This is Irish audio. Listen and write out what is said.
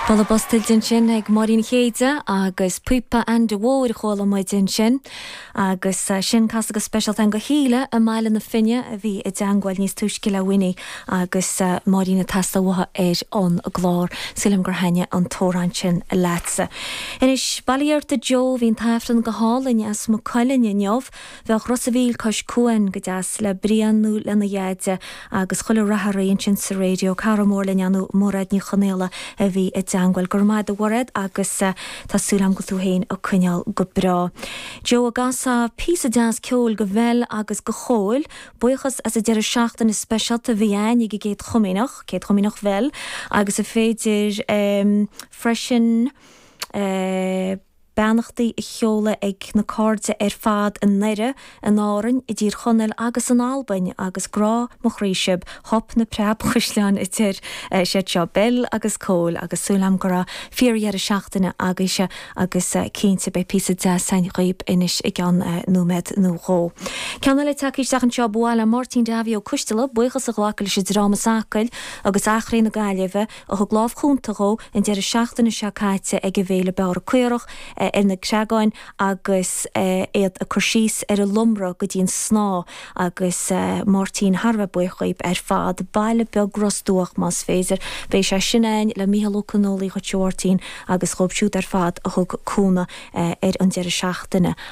Bualadh bos tuillte ansin ag Máirín Chéide agus Píopa Ainde Mhóir a chuala muid ansin. Agus sin casadh go speisialta againn do Shíle i mBaile na Finne a bhí i dteangmháil níos túisce le Winnie agus Máirín ag teastáil uathu ar an gclár. Súil agam gur thaitnigh an t-amhrán sin leatsa. Anois, bail ó Dhia ort a Joe, bhí an t-Aifreann go hálainn as Maigh Cuilinn inniu. Bheadh Ros a' Mhíl cois cuain go deas le Brian nó lena dheaide agus chuile rath oraibh ansin sa raidió. Cara mór linn ar ndóigh Mairéad Ní Chonaola a bhí i dteangmháil. Go raibh maith agat a Mhairéad agus tá súil agam go bhfuil tú féin ag coinneáil go breá. Joe an gcasfá píosa deas ceoil do Bhel agus do Chóil. Buíochas as an deireadh seachtaine speisialta a bhí a'ainn ag an gCéad Chomaoineach, Céad Chomaoineach Bhel agus an féidir freisin eh. Beannachtaí a sheoladh ag na cairde ar fad i nDoire, in Árainn, i dTír Chonaill agus in Albain agus grá mo chroí sibh, Hup na Preabchaisleáin a deir siad seo, Bel agus Cóil agus súil agam go raibh fíor-dheireadh seachtaine agaibhse agus cinnte beidh píosa deas againn dhaoib anois i gceann nóiméad nó dhó. Ceann eile tagtha isteach anseo, ba mhaith le Máirtín Davy Ó Coisteala buíochas a ghlacadh leis an dream as Acaill agus Achréidh na Gaillimhe a thug lámh chúnta dhó an deireadh seachtaine seo caite ag an bhféile Beára Caorach ar na Creagáin agus iad ag cur síos ar an lomra go dtí an snáth agus Máirtín thar a bheith buíoch dhíob ar fad. Baile Beag Ros Dumhach más féidir. Beidh sé sin a'ainn le Mícheál Ó Conghaile dhuit a Mháirtín agus dhóibh siúd ar fad a thug cúnamh ar an deireadh seachtaine.